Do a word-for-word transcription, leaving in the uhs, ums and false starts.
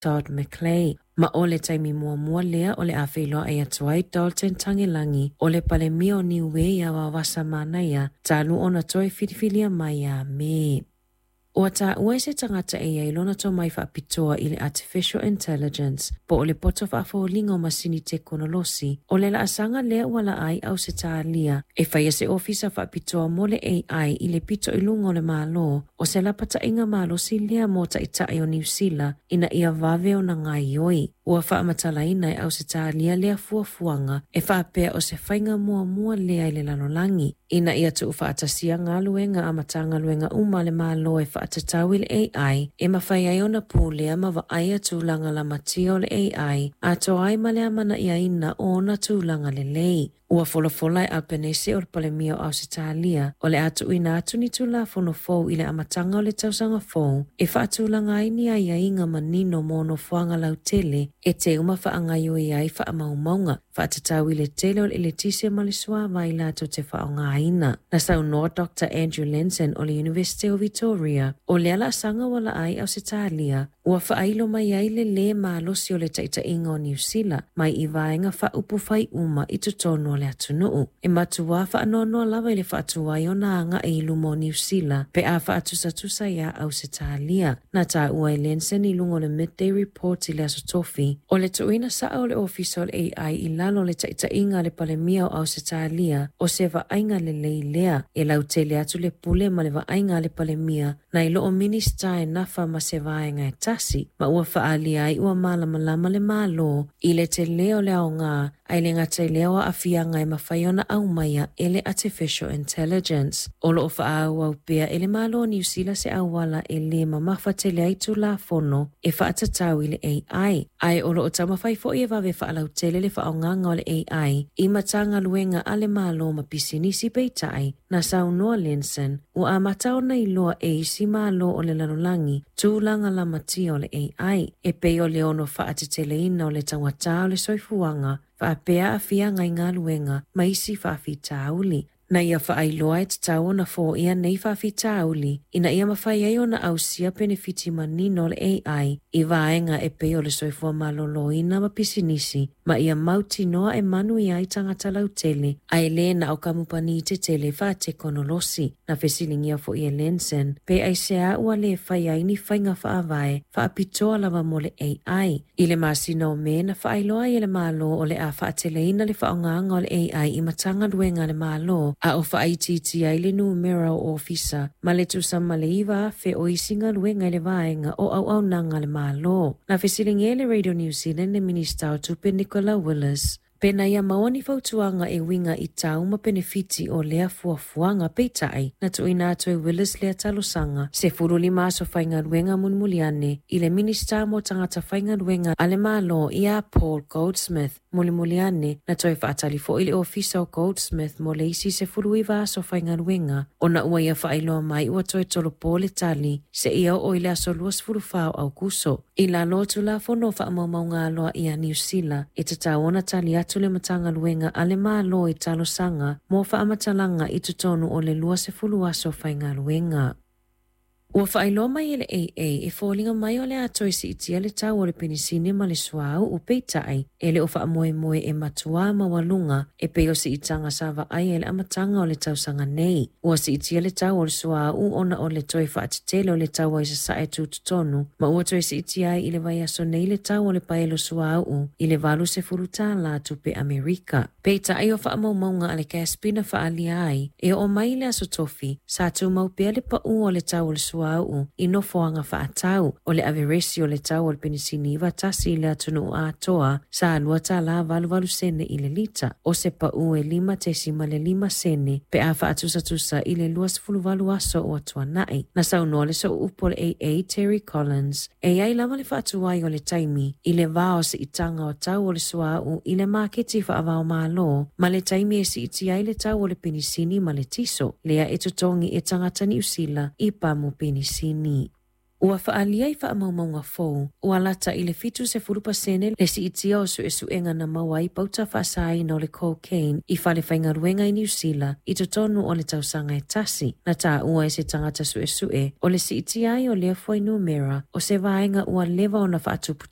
Todd McClay. Ma o le taimi muamua lea o le a feiloai atu ai Dalton Tagelagi o le Palemia o Niue ia Vaovasa Manaia talu ona toe filifilia mai ia Me. Ua taua e se tagata e iai lona tomai faapitoa i le Artificial Intelligence po o le poto faafoliga o masini tekonolosi o le laasaga lea ua laa ai Ausetalia e faia se ofisa faapitoa mo le A I i le pito i luga o le Malo, o se lapataiga malosi lea mo taitai o Niu Sila ina ia vave ona gaoioi. Ua faamatalaina e Ausetalia lea fuafuaga e faapea o se faiga muamua lea i le lalolagi ina ia tuufaatasia galuega a Matagaluega uma a le Malo e faatatau i le A I e mafai ai ona pulea ma vaaia tulaga lamatia o le A I atoa ai ma le amanaiaina o ona tulaga lelei. Ua folafola e Albanese o le Palemia o Ausetalia o le a tuuina atu ni Tulafono fou i le amataga o le tausaga fou e faatulaga ai ni aiaiga manino mo nofoaga lautele e teu ma faagaoioi ai faamaumauga faatatau i le tele o le eletise ma le suavai latou te faaaogaina. Na saunoa Doctor Andrew Lenzen o le University o Victoria o lea laasaga ua laa ai Ausetalia ua faailo mai ai le lē malosi o le taitaiga o Niu Sila mai i vaega faaupufai uma i totonu o le atunuu. E matuā faanoanoa lava i le faatuai ona agai i luma o Niu Sila pe a faatusatusa iā Ausetalia. Na taua e Lenzen i luga o le Midday Report i le aso Tofi o le tuuina saa o le ofisa o le A I i lalo o le taitaiga a le Palemia o Ausetalia o se vaaiga lelei lea e lautele atu le pule ma le vaaiga a le Palemia nai lo o Minista e nafa ma se vaega e tasi, ma ua faaalia ai ua malamalama le Malo i le telē o le aogā ae le gata i lea o aafiaga e mafai ona aumaia e le Artificial Intelligence. O loo faaauau pea e le Malo o Niu Sila se auala e lē mamafa tele ai Tulafono e faatatau i le A I, ae o loo taumafai foi e vave faalautele le faaaogaga o le A I i Matagaluega a le Malo ma pisinisi. Peitai, na saunoa Lenzen ua amata ona iloa e isi malo o le lalolagi tulaga lamatia o le A I e pei o le ono faateteleina o le taugatā o le soifuaga faapea aafiaga i galuega ma isi faafitauli. Na ia faailoa e tatau ona foia nei faafitauli ina ia mafai ai ona ausia penefiti manino o le A I i vaega e pei o le soifua maloloina ma pisinisi ma ia mautinoa e manuia ai tagata lautele ae lē na o kamupani tetele faatekonolosi. Na fesiligia foi e Lenzen pe aisea ua lē fai ai ni faiga faavae faapitoa lava mo le A I. I le masina o Me na faailoa ai e le Malo o le a faateleina le faaaogaga o le A I i Matagaluega a le Malo a o faaitiitia ai le numera o ofisa ma le tusa ma le iva afe o isi galuega i le vaega o auaunaga a le Malo. Na fesiligia e le Radio New Zealand le Minista o Tupe Nicola Willis pe na ia maua ni fautuaga e uiga i tau ma penefiti o lea fuafuaga. Peitai, na tuuina atu e Willis lea talosaga sefulu lima aso faigaluega mulimuli ane i le Minista mo Tagata Faigaluega a le Malo iā Paul Goldsmith. Mulimuli ane na toe faatali foʻi le ofisa o Goldsmith mo le isi sefulu iva aso faigaluega ona ua ia faailoa mai ua toe tolopo le tali seia oo i le aso luasefulu fa o Aukuso. I lalo o Tulafono o Faamaumauga Aloaia Niu Sila, e tatau ona tali atu le Matagaluega a le Malo i talosaga mo faamatalaga i totonu o le luasefulu aso faigaluega. Ua faailoa mai e le A A e foliga mai o le a toe siitia le tau o le penisini ma le suauu, peitai e le o faamoemoe e matuā maualuga e pei o siitaga sa vaaia i le amataga o le tausaga nei. Ua siitia le tau o le suauu ona o le toe faatetele o le taua i sasae tutotonu, ma ua toe siitia ai i le vaiaso nei le tau o le paelo suauu i le valu sefulu tālā tupe Amerika. Peitai, o faamaumauga a le C A S B na faaalia ai e oo mai le aso Tofi sa tumau pea le paʻu o le tau o le suauu i nofoaga faatau. O le averesi o le tau o le penisini iva tasi i le atunuu atoa sa lua tālā valu valu sene i le lita, o se paʻu e lima tesima le lima sene pe a faatusatusa i le luasefulu valu aso o atuanaʻi. Na saunoa le sooupu o le A A Terry Collins e iai lava le faatuai o le taimi i le vā o siitaga o tau o le suauu i le maketi faavaomalo ma le taimi e siitia ai le tau o le penisini ma le tiso lea e totogi e tagata Niusila i pamu penisini. Ua faaalia i faamaumauga fou ua lata i le fitu sefulu pasene le siitia o suesuega na maua ai pauta faasaina o le cocaine i fale faigaluega i Niu Sila i totonu o le tausaga e tasi. Na taua e se tagata suesue o le siitia ai o lea fuainumera o se vaega ua leva ona faatuputu